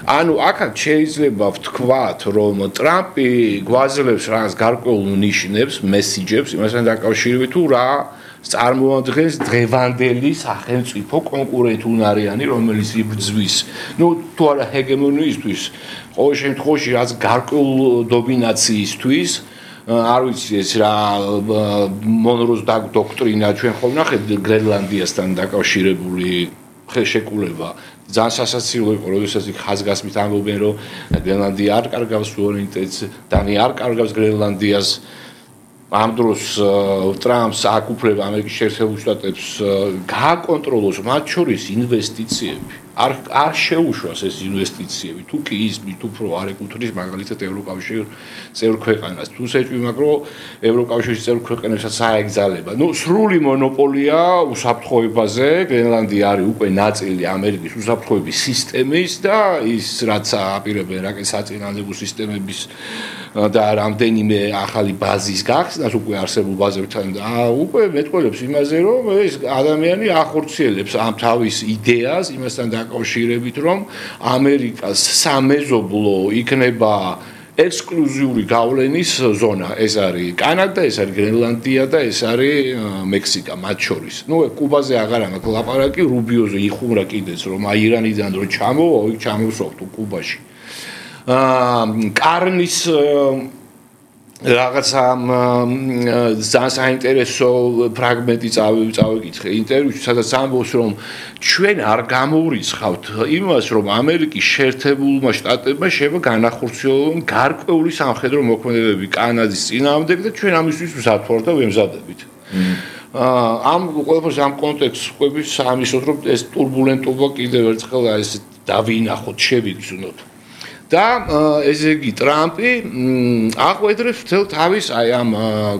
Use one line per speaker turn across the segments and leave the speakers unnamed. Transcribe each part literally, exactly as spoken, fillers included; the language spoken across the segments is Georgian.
ანუ აქაც შეიძლება ვთქვათ, რომ ტრამპი გვაძლევს რაღაც გარკვეულ ნიშნებს, მესიჯებს იმასთან დაკავშირებით, თუ რა წარმოადგენს დღევანდელი სახელმწიფო კონკურენტუნარიანი, რომელიც იბრძვის, ну, თუ არა ჰეგემონიისთვის, ყოველ შემთხვევაში რაც გარკვეულ დომინაციისთვის, არ ვიცი ეს რა მონროს დოქტრინა ჩვენ ხომ ნახეთ გრენლანდიასთან დაკავშირებული ხელშეკრულება ძალიან სასაცილო იყო, როდესაც იქ ხაზგასმით ამბობენ, რომ გრენლანდია არ კარგავს სუვერენიტეტს, დანია არ კარგავს გრენლანდიას. ამ დროს ტრამპს აკუფლება ამერიკის შეერთებულ შტატებს გააკონტროლოს მათ შორის ინვესტიციები. არ არ შეუშვას ეს ინვესტიციები, თუ კი ის მით უფრო არ ეკუთვნის მაგალითად ევროკავშირის წევრ ქვეყანას. თუ შეჭვი მაგრამ ევროკავშირის წევრ ქვეყნებსაც აეგზალება. ნუ სრული მონოპოლია უსაფრთხოებაზე, გრენლანდია არის უკვე ნაწილი ამერიკის უსაფრთხოების სისტემის და ის რაც აპირებენ რაკეტსაწინააღმდეგო სისტემების და რამდენიმე ახალი ბაზის გახსნას უკვე არსებულ ბაზებთან და უკვე მეტყველებს იმაზე, რომ ეს ადამიანი ახორციელებს ამ თავის იდეას იმასთან დაკავშირებით, რომ ამერიკას სამეზობლო იქნება ექსკლუზიური გავლენის ზონა. ეს არის კანადა, ეს არის გრენლანდია და ეს არის მექსიკა მათ შორის. ნუ კუბაზე აღარ ამაქვს ლაპარაკი, რუბიოზე იხუმრა კიდეც, რომ აი ირანიდან რო ჩამოვა, იქ ჩამოსვავ თუ კუბაში. აა კარნის რაღაცა ძალიან საინტერესო ფრაგმენტი წავიკითხე ინტერვიუში, სადაც ამბობს, რომ ჩვენ არ გამოურიცხავთ იმას, რომ ამერიკის შეერთებულმა შტატებმა შეიძლება განახორციელონ გარკვეული სამხედრო მოქმედებები კანადის წინააღმდეგ და ჩვენ ამისთვის მზადვართ და ვემზადებით. ამ ყველაფერს ამ კონტექსტს ყვების ამისოთ, რომ ეს турბულენტობა კიდევ ერთხელ ეს დავინახოთ, შევიგრძნოთ. და ესე იგი ტრამპი აღვედრებს მთელ თავის აი ამ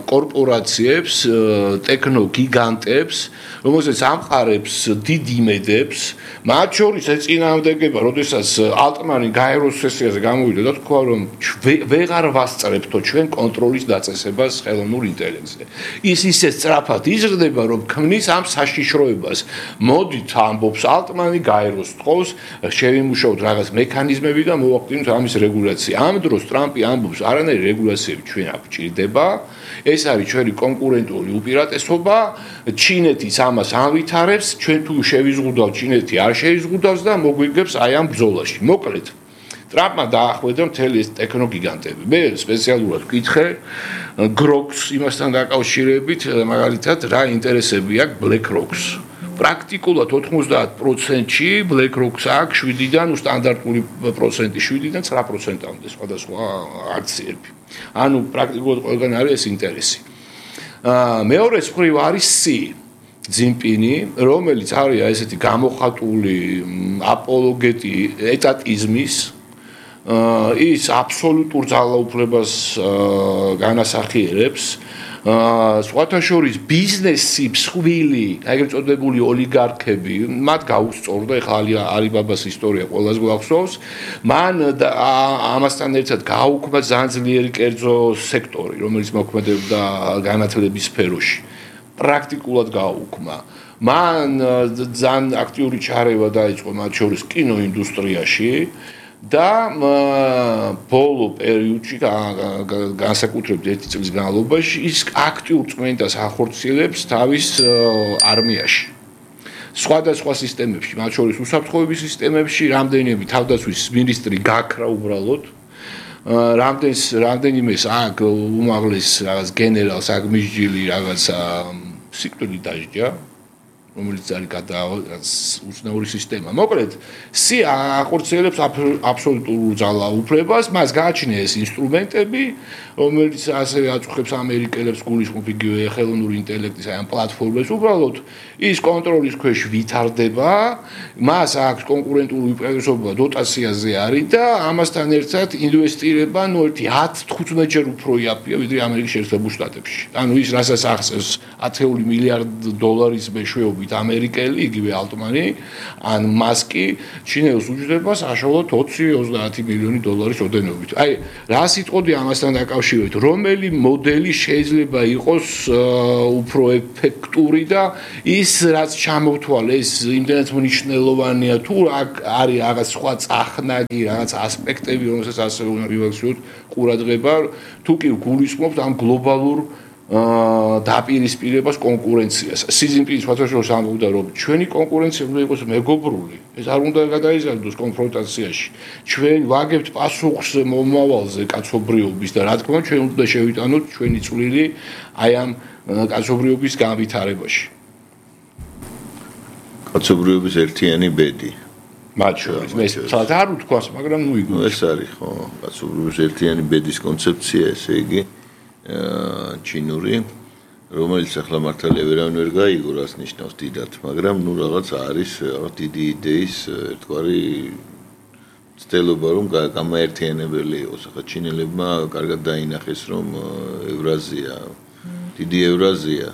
კორპორაციებს, ტექნოგიგანტებს, რომელსაც ამყარებს დიდ იმედებს, მათ შორის ეწინააღმდეგება, როდესაც ალტმანი გაეროს სესიაზე გამოვიდა და თქვა, რომ ვეღარ ვასწრებთო ჩვენ კონტროლის დაწესებას ხელოვნურ ინტელექტზე. ის ისე სწრაფად იზრდება, რომ ქმნის ამ საშიშროებას. მოდით ამბობს ალტმანი გაეროს თხოვს, შევიმუშაოთ რაღაც მექანიზმები და მოვაყდინოთ ამის რეგულაცია. ამ დროს ტრამპი ამბობს, არანაირი რეგულაციები ჩვენ არ გვჭირდება. ეს არის ჩვენი კონკურენტული უპირატესობა. ჩინეთის ამას ამვითარებს, ჩვენ თუ შევიზღუდავთ, ჩინეთი არ შეიზღუდავს და მოგვიგებს აი ამ ბრძოლაში. მოკლედ, ტრამპმა დაახვედრა მთელი ეს ტექნოგიგანტები. მე სპეციალურად ვკითხე გროქს იმასთან დაკავშირებით, მაგალითად, რა ინტერესები აქვს BlackRock-ს. პრაქტიკულად ოთხმოცდაათ პროცენტში BlackRock-ს აქვს შვიდიდან სტანდარტული პროცენტი შვიდიდან ცხრა პროცენტამდე სხვადასხვა აქციები. ანუ პრაქტიკულად ყველგან არის ეს ინტერესი. აა მეორე მხრივ არის C ძინპინი, რომელიც არის ესეთი გამოხატული აპოლოგეტი ეტატიზმის, აა ის აბსოლუტურ ძალაუფლებას განასახიერებს. აა სხვათა შორის ბიზნესი მსხვილი, ეგრეთ წოდებული ოლიგარქები, მათ გაუსწორდა, ეხლა ალიბაბას ისტორია ყველას გვახსოვს, მან ამასთან ერთად გააუქმა ძალიან ძლიერი კერძო სექტორი, რომელიც მოქმედებდა განათლების სფეროში. პრაქტიკულად გააუქმა. მან ძალიან აქტიური ჩარევა დაიწყო მათ შორის კინოინდუსტრიაში. და ბოლო პერიოდში განსაკუთრებით ერთი წლის განმავლობაში ის აქტიურ წმენდას ახორციელებს თავის არმიაში. სხვადასხვა სისტემებში, მათ შორის უსაფრთხოების სისტემებში, რამდენიმე თავდაცვის მინისტრი გაქრა უბრალოდ. რამდენს რამდენიმეს აქ უმაღლეს რაღაც გენერალს აქ მისჯილი რაღაცა სიკვდილი დაიჯდა. რომელიც არის უცნაური სისტემა. მოკლედ, C ახორციელებს აბსოლუტურ ძალაუფლებას, მას გააჩნია ეს ინსტრუმენტები, რომელიც ასევე აწუხებს ამერიკელებს გულისხმობ იგივე ხელოვნური ინტელექტის აი ამ პლატფორმებს. უბრალოდ ის კონტროლის ქვეშ ვითარდება, მას აქვს კონკურენტული უპირატესობა დოტაციაზე არის და ამასთან ერთად ინვესტირება ნუ ერთი ათ თხუთმეტ ჯერ უფრო იაფია ვიდრე ამერიკის შეერთებულ შტატებში. ანუ ის რასაც ახსენს ათეული მილიარდ დოლარის მეშვეობით ვთქვით, ამერიკელი, იგივე ალტმანი, ან მასკი ჩინელს უჯდება საშუალოდ ოცი ოცდაათი მილიონი დოლარის ოდენობით. აი, რა სიტყოდი ამასთან დაკავშირებით, რომელი მოდელი შეიძლება იყოს უფრო ეფექტური და ის რაც ჩამოვთვალე, ეს იმდენად მნიშვნელოვანია თუ არის რაღაც სხვა წახნაგი, რაღაც ასპექტები, რომელსაც ასე უნდა მივახციოთ ყურადღება, თუ კი გულისხმობთ ამ გლობალურ დაპირისპირებას კონკურენციას. სიზინპინის ფათაშორის ამბობდა, რომ ჩვენი კონკურენცია უნდა იყოს მეგობრული. ეს არ უნდა გადაიზარდოს კონფრონტაციაში. ჩვენ ვაგებთ პასუხს მომავალზე კაცობრიობის და რა თქმა უნდა ჩვენ უნდა შევიტანოთ ჩვენი წვლილი აი ამ კაცობრიობის განვითარებაში.
კაცობრიობის ერთიანი ბედი.
მათ შორის მე სადაც არ ვთქვას, მაგრამ ნუ იგივე.
ეს არის ხო, კაცობრიობის ერთიანი ბედის კონცეფცია, ესე იგი ჩინური, რომელიც ახლა მართალია ვერავინ ვერ გაიგო, რას ნიშნავს დიდად, მაგრამ ნუ რაღაც არის რაღაც დიდი იდეის ერთგვარი ცდილობა, რომ გამაერთიანებელი იყოს. ახლა ჩინელებმა კარგად დაინახეს, რომ ევრაზია, დიდი ევრაზია,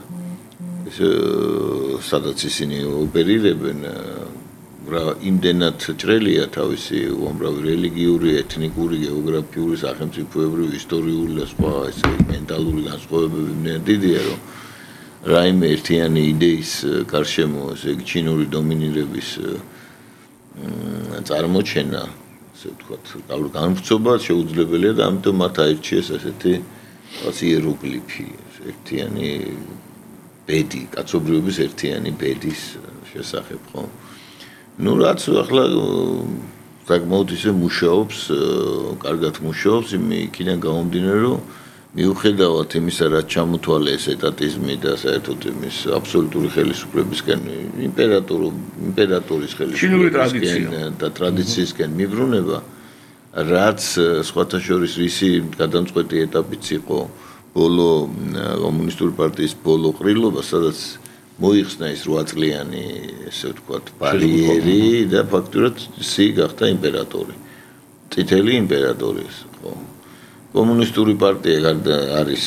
ეს სადაც ისინი ოპერირებენ, რა იმდენად ჭრელია თავისი უამრავი რელიგიური, ეთნიკური, გეოგრაფიული, სახელმწიფოებრივი, ისტორიული და სხვა ესე მენტალური განსხვავებები იმდენად დიდია, რომ რაიმე ერთიანი იდეის გარშემო, ესე იგი ჩინური დომინირების წარმოჩენა, ასე ვთქვათ, განვრცობა შეუძლებელია და ამიტომ მათ აირჩიეს ასეთი რაღაც იეროგლიფი, ერთიანი ბედი, კაცობრიობის ერთიანი ბედის შესახებ, ხო? Ну, რაც ახლა საკმაოდ ისე მუშაობს, კარგად მუშაობს, იქიდან გამომდინარე, რომ მიუხედავად იმისა, რაც ჩამოთვალე ეს ეტატიზმი და საერთოდ იმის აბსოლუტური ხელისუფლებისკენ, იმპერატორო, იმპერატორის ხელისუფლებისკენ და ტრადიციისკენ მიბრუნება, რაც სხვათა შორის ისი გადამწყვეტი ეტაპიც იყო ბოლო კომუნისტური პარტიის ბოლო ყრილობა, სადაც მოიხსნა ის რვა წლიანი, ესე ვთქვათ, ბარიერი და ფაქტურად ისი გახდა იმპერატორი. წითელი იმპერატორი, ხო. კომუნისტური პარტია არის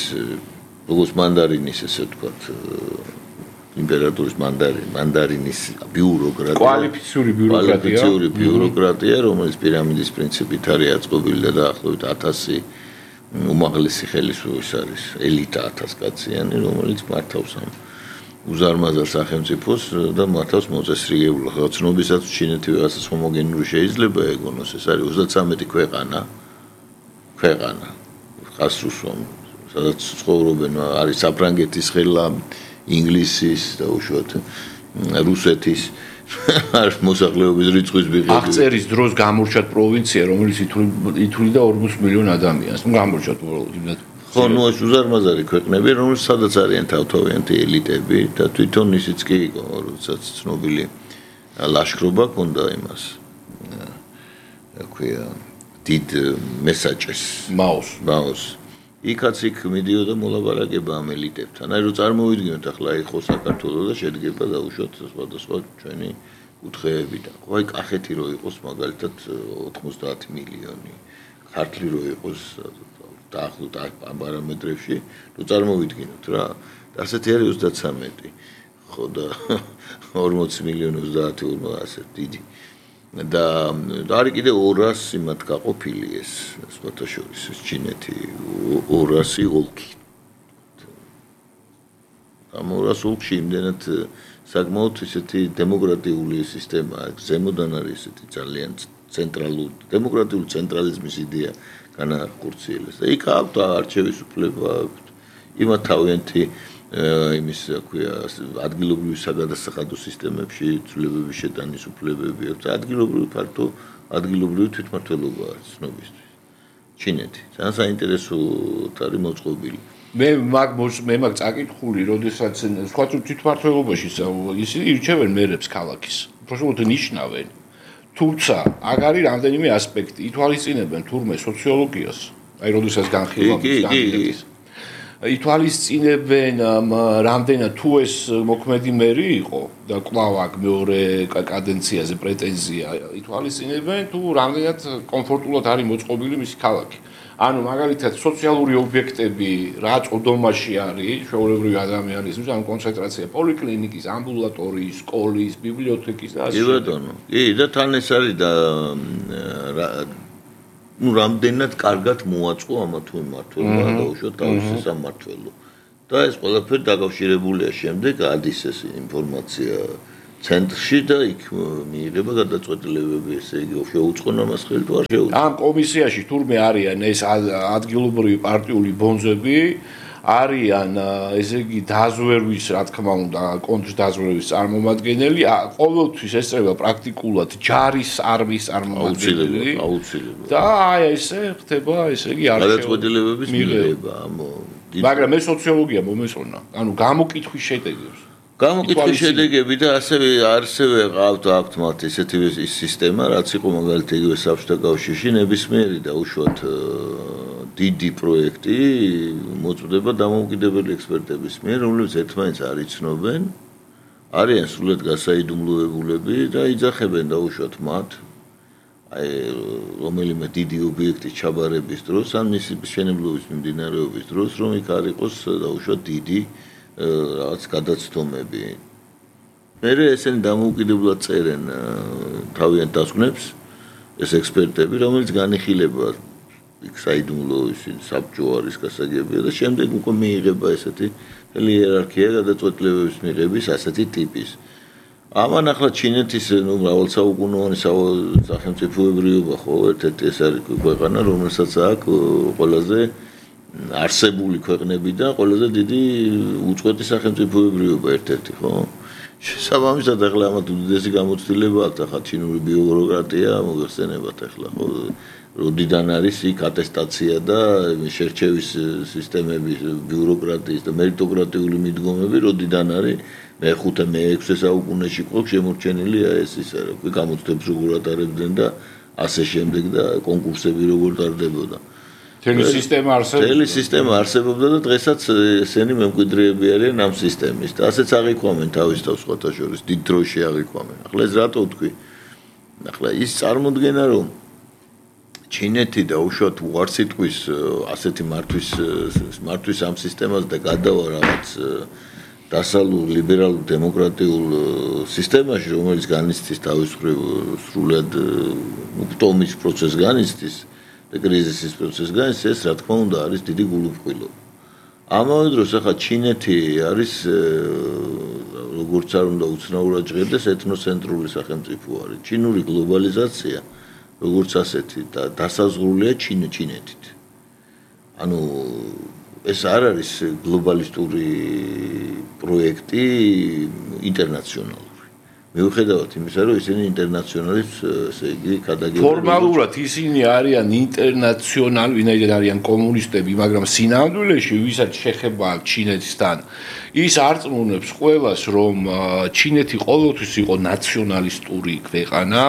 როგორც მანდარინის, ესე ვთქვათ, იმპერატორის მანდარინი, მანდარინის ბიუროკრატია.
კვალიფიციური ბიუროკრატია.
კვალიფიციური ბიუროკრატია, რომელიც პირამიდის პრინციპით არის აწყობილი და დაახლოებით ათასი უმაღლესი ხელისუფლების არის, ელიტა ათას კაციანი, რომელიც მართავს ამ უზარმაზარ სახელმწიფოს და მართავს მოწესრიგებულ ხალხობისაც ჩინეთი ვიღაცას ჰომოგენური შეიძლება ეგონოს, ეს არის ოცდათვრამეტი ქვეყანა. ქვეყანა. ხასრუსომ, სადაც ცხოვრობენ არის საფრანგეთის ხელა, ინგლისის და უშუალოდ რუსეთის არ მოსახლეობის რიცხვის მიღებით.
აღწერის დროს გამორჩათ პროვინცია, რომელიც ითვლიდა ორმოც მილიონ ადამიანს. ნუ გამორჩათ იმდენად
ხო, ნუ ეს უზარმაზარი ქვეყნები, რომელიც სადაც არიან თავთავიანთი ელიტები და თვითონ ისიც კი იყო, როდესაც ცნობილი ლაშქრობა ჰქონდა იმას. რა ქვია, დიდ მესაჭეს,
მაოს,
მაოს. იქაც იქ მიდიოდა მოლაპარაკება ამ ელიტებთან. აი რომ წარმოვიდგინოთ ახლა იყო საქართველოს და შედგება დაუშვათ სხვადასხვა ჩვენი კუთხეებიდან. ხო, აი კახეთი რო იყოს მაგალითად ოთხმოცდაათი მილიონი, ქართლი რო იყოს დაახლოებით ამ პარამეტრებში, ნუ წარმოვიდგინოთ რა. ასეთი არის ოცდათვრამეტი. ხო და ორმოცი მილიონი ოცდაათი ასე დიდი. და არის კიდე ორასი მათ გაყოფილი ეს სხვათა შორის ეს ჩინეთი ორასი ოლქი. ამ ორასი ოლქში იმდენად საკმაოდ ისეთი დემოკრატიული სისტემაა, ზემოდან არის ესეთი ძალიან ცენტრალური დემოკრატიული ცენტრალიზმის იდეა განახორციელეს. და იქ აქვს არჩევის უფლება, იმათ თავიანთი იმის რა ქვია ადგილობრივი საგადასახადო სისტემებში ცვლილებების შეტანის უფლებები აქვს. ადგილობრივი ფართო ადგილობრივი თვითმმართველობა არის ცნობისთვის. ჩინეთი. ძალიან საინტერესო არის მოწყობილი.
მე მაგ მე მაგ წაკითხული, როდესაც სხვა თვითმმართველობაში ისინი ირჩევენ მერებს ქალაქის. უბრალოდ ნიშნავენ. თუმცა აქ არის რამდენიმე ასპექტი. ითვალისწინებენ თურმე სოციოლოგიას. აი როდესაც განხილავს განხილავს ითვალისწინებენ რამდენად თუ ეს მოქმედი მერი იყო და კვლავ აქ მეორე კადენციაზე პრეტენზია ითვალისწინებენ თუ რამდენად კომფორტულად არის მოწყობილი მისი ქალაქი. ანუ მაგალითად სოციალური ობიექტები რა წოდომაში არის ჩვეულებრივი ადამიანისთვის, ანუ კონცენტრაცია პოლიკლინიკის, ამბულატორიის, სკოლის, ბიბლიოთეკის და ასე.
კი ბატონო. კი და თან ეს არის და ну რამდენად კარგად მოაწყო ამა თუ მმართველობა და უშუალოდ თავისი სამმართველო. და ეს ყველაფერი დაკავშირებულია შემდეგ ადის ეს ინფორმაცია ცენტრში და იქ მიიღება გადაწყვეტილებები, ესე იგი შეუწყონა მას ხელი თუ არ შეუწყო.
ამ კომისიაში თურმე არიან ეს ადგილობრივი პარტიული ბონზები, არიან ესე იგი დაზვერვის, რა თქმა უნდა, კონტრდაზვერვის წარმომადგენელი, ყოველთვის ესწრება პრაქტიკულად ჯარის არმიის წარმომადგენელი.
აუცილებლად.
და აი ესე ხდება, ესე იგი არ
გადაწყვეტილებების მიღება,
მაგრამ ეს სოციოლოგია მომესწონა, ანუ გამოკითხვის შედეგებს.
გამოკითხვის შედეგები და ასევე არსებე ყავთ აქვთ მათ ესეთი სისტემა, რაც იყო მაგალითად იგივე საბჭოთა კავშირში ნებისმიერი და უშუალოდ დიდი პროექტი მოწვდება დამოუკიდებელი ექსპერტების მიერ, რომლებიც ერთმანეთს არ იცნობენ, არიან სრულად გასაიდუმლოებულები და იძახებენ დაუშვათ მათ აი რომელიმე დიდი ობიექტის ჩაბარების დროს ან მისი მშენებლობის მიმდინარეობის დროს, რომ იქ არ იყოს დაუშვათ დიდი რაღაც გადაცდომები. მერე ესენი დამოუკიდებლად წერენ თავიანთ დასკვნებს ეს ექსპერტები, რომელიც განიხილება იქ საიდუმლო ისი საბჭო არის გასაგებია და შემდეგ უკვე მიიღება ესეთი იერარქია გადაწყვეტილებების მიღების ასეთი ტიპის. ამან ახლა ჩინეთის ნუ მრავალსაუკუნოვანი სახელმწიფოებრიობა ხო ერთ-ერთი ეს არის ქვეყანა, რომელსაც აქვს ყველაზე არსებული ქვეყნებიდან ყველაზე დიდი უწყვეტი სახელმწიფოებრიობა ერთ-ერთი ხო? შესაბამისად ახლა ამათ უდიდესი გამოცდილება აქვს ახლა ჩინური ბიუროკრატია მოიხსენებათ ახლა ხო? როდიდან არის იქ ატესტაცია და შერჩევის სისტემები ბიუროკრატიის და მერიტოკრატიული მიდგომები როდიდან არის მეხუთე მეექვსე საუკუნეში ყო შემორჩენილი ეს ის რა ქვია გამოცდებს როგორ ატარებდნენ და ასე შემდეგ და კონკურსები როგორ ტარდებოდა
თელი სისტემა არსებობდა
თელი სისტემა არსებობდა და დღესაც ესენი მემკვიდრეები არიან ამ სისტემის და ასეც აღიქვამენ თავის თავს სხვათა შორის დიდ დროში აღიქვამენ ახლა ეს რატო ვთქვი ახლა ის წარმოდგენა რომ ჩინეთი და უშუალოდ უარსიტყვის ასეთი მართვის მართვის ამ სისტემას და გადავა რაღაც დასალურ ლიბერალურ დემოკრატიულ სისტემაში რომელიც განიცდის თავის მხრივ სრულად უპტომის პროცესს განიცდის და კრიზისის პროცესს განიცდის ეს რა თქმა უნდა არის დიდი გულუბრყვილობა ამავე დროს ახლა ჩინეთი არის როგორც არ უნდა უცნაურად ჟღერდეს ეთნოცენტრული სახელმწიფო არის ჩინური გლობალიზაცია როგორც ასეთი და დასაზღვრულია ჩინეთით. ანუ ეს არ არის გლობალისტური პროექტი ინტერნაციონალური. მიუხედავად იმისა, რომ ისინი ინტერნაციონალის, ესე იგი, გადაგებულები.
ფორმალურად ისინი არიან ინტერნაციონალი, ვინაიდან არიან კომუნისტები, მაგრამ სინამდვილეში ვისაც შეხება აქვს ჩინეთთან, ის არწმუნებს ყველას, რომ ჩინეთი ყოველთვის იყო ნაციონალისტური ქვეყანა,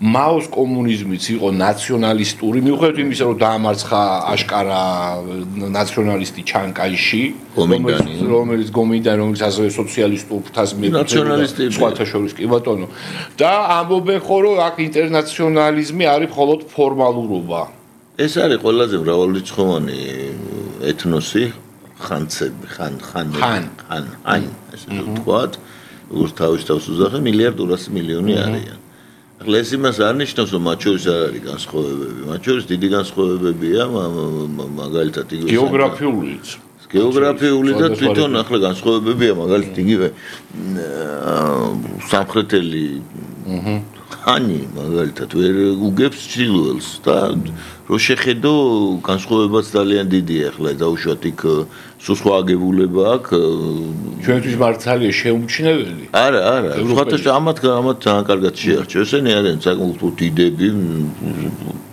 მაოს კომუნიზმიც იყო ნაციონალისტური, მიუხედავად იმისა, რომ დაამარცხა აშკარა ნაციონალისტი ჩან კაიში, რომელიც გომინდანი, რომელიც ასევე სოციალისტურ ფრთას
ნაციონალისტები
სხვათა შორის კი ბატონო. და ამბობენ ხო, რომ აქ ინტერნაციონალიზმი არის მხოლოდ ფორმალურობა.
ეს არის ყველაზე მრავალრიცხოვანი ეთნოსი ხანცები, ხან, ხან, ხან, ხან, აი, ესე ვთქვათ, როგორც თავის თავს უძახე, მილიარდ ორასი მილიონი არიან. ახლა ეს იმას არ ნიშნავს, რომ მათ შორის არ არის განსხვავებები. მათ შორის დიდი განსხვავებებია, მაგალითად იგივე
გეოგრაფიულიც.
გეოგრაფიული და თვითონ ახლა განსხვავებებია, მაგალითად იგივე სამხრეთელი ხანი, მაგალითად ვერ უგებს ჩრდილოელს და რო შეხედო განსხვავებაც ძალიან დიდია ახლა დაუშვათ იქ სულ სხვა აგებულება აქვს
ჩვენთვის მართალია შეუმჩნეველი
არა არა სხვათა ამათ ამათ ძალიან კარგად შეარჩევ ესენი არიან საკმაოდ დიდები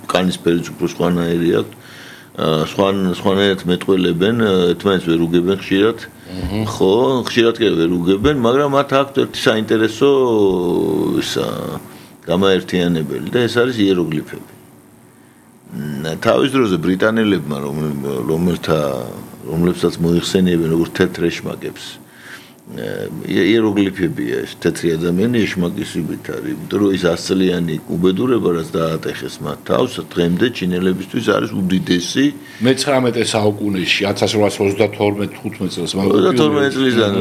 კანის ფერიც უფრო სხვანაირი აქვს სხვან სხვანაირად მეტყველებენ ერთმანეთს ვერ უგებენ ხშირად ხო ხშირად კი ვერ უგებენ მაგრამ მათ აქვთ ერთი საინტერესო ისა გამაერთიანებელი და ეს არის იეროგლიფები თავის დროზე ბრიტანელებმა რომელთა რომლებსაც მოიხსენიებენ როგორც თეთრ ეშმაკებს. იეროგლიფებია ეს თეთრი ადამიანი ეშმაკის სიბით არის, იმიტომ რომ ის ასწლიანი უბედურება რაც დაატეხეს მათ თავს დღემდე ჩინელებისთვის არის უდიდესი
მეცხრამეტე საუკუნეში ათას რვაას ოცდათორმეტ თხუთმეტ წელს
ოცდათორმეტ წლიდან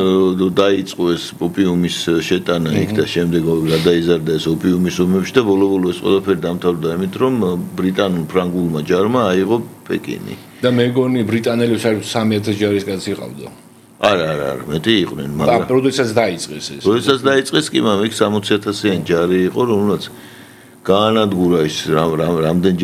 დაიწყო ეს ოპიუმის შეტანა იქ და შემდეგ გადაიზარდა ეს ოპიუმის ომებში და ბოლო-ბოლო ეს ყველაფერი დამთავრდა იმით რომ ბრიტანულ ფრანგულმა ჯარმა აიღო პეკინი
და მეგონი ბრიტანელებს არის სამი ათას ჯარისკაცი ყავდა
არა არა არა მეტი იყვნენ მაგრამ
როდესაც დაიწყეს ეს
როდესაც დაიწყეს კი მაგრამ იქ სამოცი ათასიანი ჯარი იყო რომელსაც გაანადგურა ის რამდენჯერ